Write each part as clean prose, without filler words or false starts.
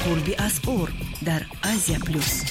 Қурби асъор дар Азия Плюс.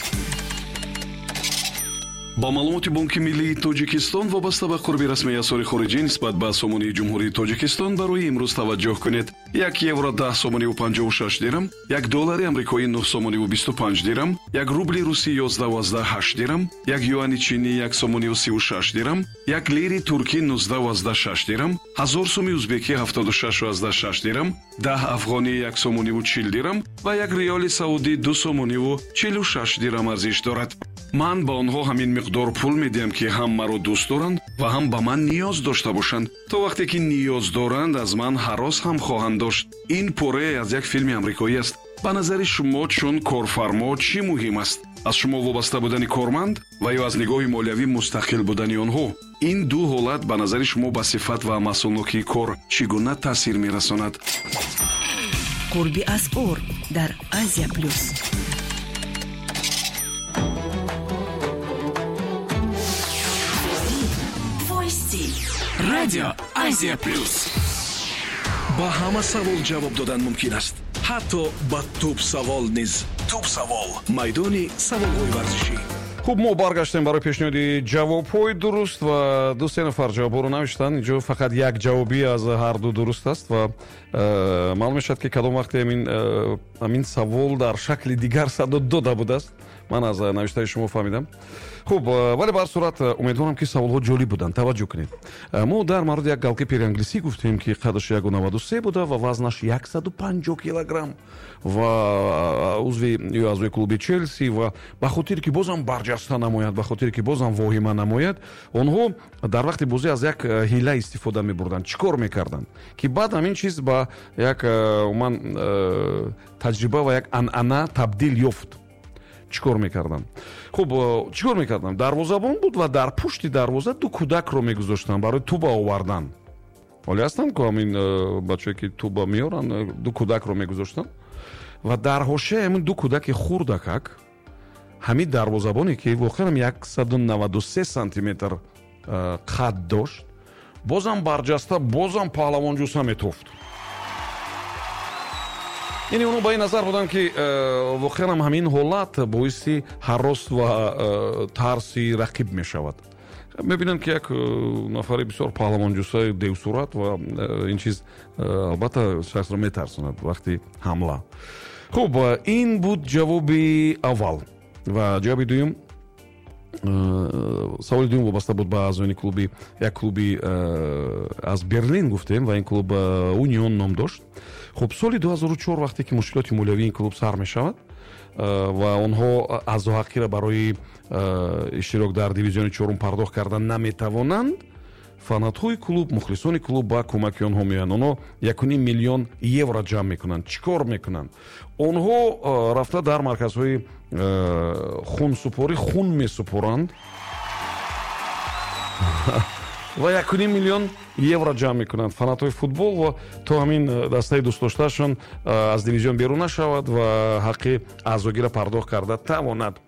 Ба маълумоти Бонки миллии Тоҷикистон вобаста ба қурби расмии асъори хориҷӣ нисбат ба сомонии Ҷумҳурии Тоҷикистон барои имрӯз таваҷҷӯҳ кунед. 1 евро 10 сомониву 56 дирам, 1 доллари амрикоӣ 9 сомониву 25 дирам, 1 рубли русӣ 11,8 дирам, 1 юани чинӣ 1 сомониву 36 дирам, 1 лири туркӣ 19,6 дирам, 1000 суми узбекӣ 76,6 дирам, 10 афғонӣ 1 сомониву 40 дирам ва 1 риёли саудӣ 2 сомониву 46 дирам арзиш дорад. Ман ба онҳо ҳамин миқдор пул медиҳам, ки ҳам маро дӯст доранд ва ҳам ба ман ниёз дошта бошанд. То вақте ки ниёз доранд, аз ман ҳарос ҳам хоҳанд дошт. Ин порае аз як филми амрикоӣ аст. Ба назари шумо, чун корфармо, чӣ муҳим аст: аз шумо вобаста будани корманд ва ё аз нигоҳи молиявӣ мустақил будани онҳо? Ин ду ҳолат ба назари шумо ба сифат ва маҳсулнокии кор чӣ гуна таъсир мерасонад? Қурби асъор дар Азия Плюс. Радио Азия Плюс. Ба ҳама савол ҷавоб додан мумкин аст, ҳатто ба туп савол низ. Туп савол, майдони саволҳои варзишӣ. Хуб, мо баргаштем барои пешниҳоди ҷавобҳои дуруст ва ду се нафар ҷавобҳоро навиштанд. Инҷо фақат як ҷавобӣ аз ҳар ду дуруст аст ва маълум мешавад, ки кадом вақте ҳамин савол дар шакли дигар садо дода будааст. Ман аз навиштаи шумо фаҳмидам. Хуб, вале ба ҳар сурат умедворам, ки саволҳо ҷолиб буданд. Таваҷҷӯҳ кунед, мо дар мавриди як голкипери англисӣ гуфтем, ки қадаш 1,93 буда ва вазнаш 150 килограмм ва узви ё аъзои клуби Челси. Ва ба хотире ки бозам барҷаста намояд, ба хотире ки бозам воҳима намояд, онҳо дар вақти бозӣ аз як ҳила истифода мебурданд. Чӣ кор мекарданд, ки баъд ҳамин чиз ба як умуман таҷриба ва як анъана табдил ёфт? Чӣ кор мекарданд? Хуб, чӣ кор мекарданд? Дарвозабон буд ва дар пушти дарвоза ду кӯдакро мегузоштанд барои туба овардан. Ҳоле ҳастанд ку ҳамин бачае, ки туба меоранд. Ду кӯдакро мегузоштанд ва дар ҳошияи ҳамин ду кӯдаки хурдакак ҳамин дарвозабоне, ки воқеан 193 сантиметр қад дошт, бозам барҷаста, бозам паҳлавонҷуса метофт. Яъне онҳо ба ин назар буданд, ки воқеан ҳамин ҳолат боиси ҳарос ва тарси рақиб мешавад. Мебинанд, ки як нафари бисёр паҳлавонҷусаи девсурат ва ин чиз албатта шахсро метарсонад вақти ҳамла. Хуб, ин буд ҷавоби аввал ва ҷавоби дуюм. Саволи дуюм вобаста буд ба аъзоёни клуби, як клуби аз Берлин гуфтем, ва ин клуб Унион ном дошт. Хуб, соли 2004, вақте ки мушкилоти молиявии ин клуб сар мешавад ва онҳо аъзоҳаққиро барои иштирок дар дивизиони чорум пардохт кардан наметавонанд, фанатҳои клуб, мухлисони клуб ба кӯмаки онҳо меоянд. Онҳо 1,5 миллион евро ҷамъ мекунанд. Чӣ кор мекунанд? Онҳо рафта дар марказҳои хунсупорӣ хун месупоранд ва 1,5 миллион евро ҷамъ мекунанд фанатҳои футбол ва то ҳамин дастаи дӯстдоштаашон аз дивизион берун нашавад ва ҳаққи аъзогиро пардохт карда тавонад.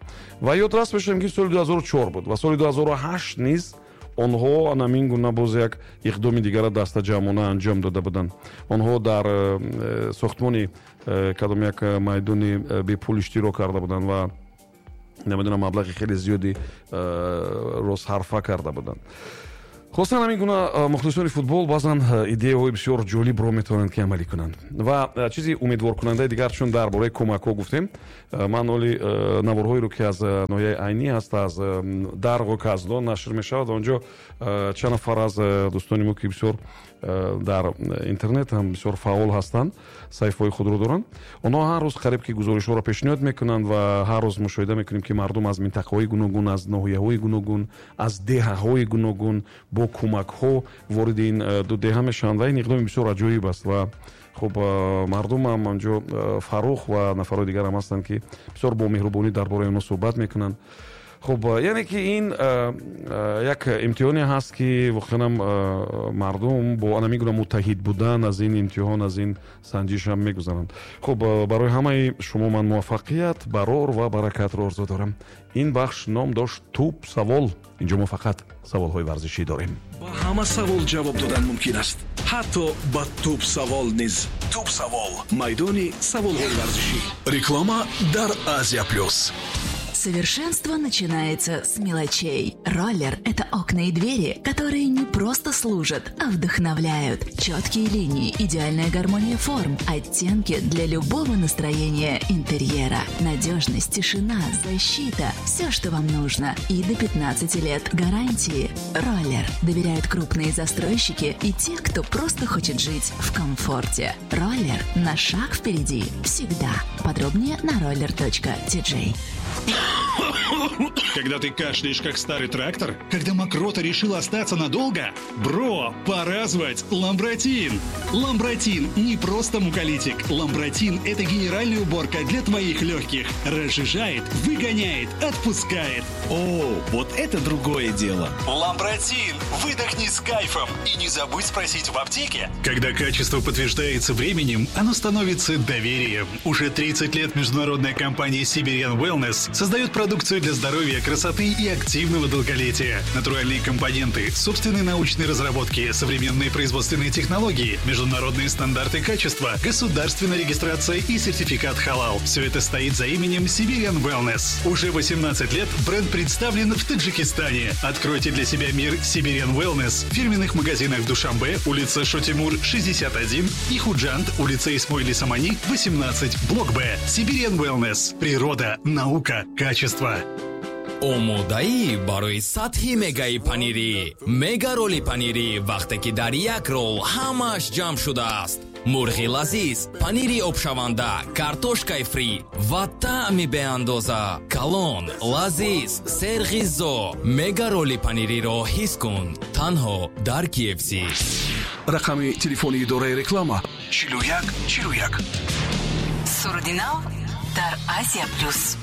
Ва ёдрас мешавем, ки соли 2004 буд ва соли 2008 низ онҳо анамин гуна боз як иқдоми дигара дастаҷамъона анҷом дода буданд. Онҳо дар сохтмони кадом як майдони бепул иштирок карда буданд ва намедонам, маблағи хеле зиёди ро сарфа карда буданд. Хулосан, ҳамин гуна мухлисони футбол баъзан идеяҳои бисёр ҷолибро метавонанд, ки амалӣ кунанд. Ва чизи умедворкунандаи дигар, чун дар бораи кӯмакҳо гуфтем, ман оли наворҳоеро, ки аз ноҳияи Айнӣ аст, аз Дарғу Каздон нашр мешавад, онҷо чанд нафар аз дӯстони мо, ки бисёр дар интернет ҳам бисёр фаъол ҳастанд, саҳифаҳои худро доранд, онҳо ҳар рӯз қариб ки гузоришҳоро пешниҳод мекунанд ва ҳар рӯз мушоҳида мекунем, ки мардум аз минтақаҳои гуногун, аз ноҳияҳои гуногун, аз деҳаҳои гуногун бо кӯмакҳо вориди ин ду деҳа мешаванд. Ва ин иқдоми бисёр аҷоиб аст. Ва хуб, мардумам анҷо Фаррух ва нафарҳои дигар ҳам ҳастанд, ки бисёр бо меҳрубонӣ дар бораи онҳо суҳбат мекунанд. Хуб, яъне ки ин як имтиҳоне ҳаст, ки воқеанам мардум бо ана мигуна муттаҳид будан аз ин имтиҳон, аз ин санҷиш ҳам мегузаранд. Хуб, барои ҳамаи шумо ман муваффақият, барор ва баракатро орзу дорам. Ин бахш ном дошт «Тӯб савол». Инҷо мо фақат саволҳои варзишӣ дорем. Ба ҳама савол ҷавоб додан мумкин аст, ҳатто ба тӯб савол низ. Тӯб савол, майдони саволҳои варзишӣ. Реклама дар Азия Плюс. Совершенство начинается с мелочей. Роллер – это окна и двери, которые не просто служат, а вдохновляют. Четкие линии, идеальная гармония форм, оттенки для любого настроения интерьера. Надежность, тишина, защита – все, что вам нужно. И до 15 лет гарантии. Роллер. Доверяют крупные застройщики и те, кто просто хочет жить в комфорте. Роллер на шаг впереди. Всегда. Подробнее на roller.tj. Когда ты кашляешь, как старый трактор? Когда мокрота решила остаться надолго? Бро, пора звать Ламбратин! Ламбратин не просто муколитик. Ламбратин – это генеральная уборка для твоих легких. Разжижает, выгоняет, отпускает. О, вот это другое дело. Ламбратин! Выдохни с кайфом. И не забудь спросить в аптеке. Когда качество подтверждается временем, оно становится доверием. Уже 30 лет международная компания Siberian Wellness создает продукцию для здоровья, красоты и активного долголетия. Натуральные компоненты, собственные научные разработки, современные производственные технологии, международные стандарты качества, государственная регистрация и сертификат халал. Все это стоит за именем Siberian Wellness. Уже 18 лет бренд представлен в Таджикистане. Откройте для себя мир Siberian Wellness в фирменных магазинах в Душанбе, улица Шотимур, 61, и Худжанд, улица Исмоили Самани, 18, блок Б. Siberian Wellness. Природа, наука, качество. Омодаӣ барои сатҳи мегаи панирӣ, мега роли панирӣ, вақте ки дар як рол ҳамааш ҷамъ шудааст: мурғи лазиз, панири обшаванда, картошкаи фри ва таъми беандоза. Калон, лазиз, серғизо. Мега роли панириро ҳис кун танҳо дар KFC. Рақами телефони идораи реклама: 41 41. Суруди нав дар Азия Плюс.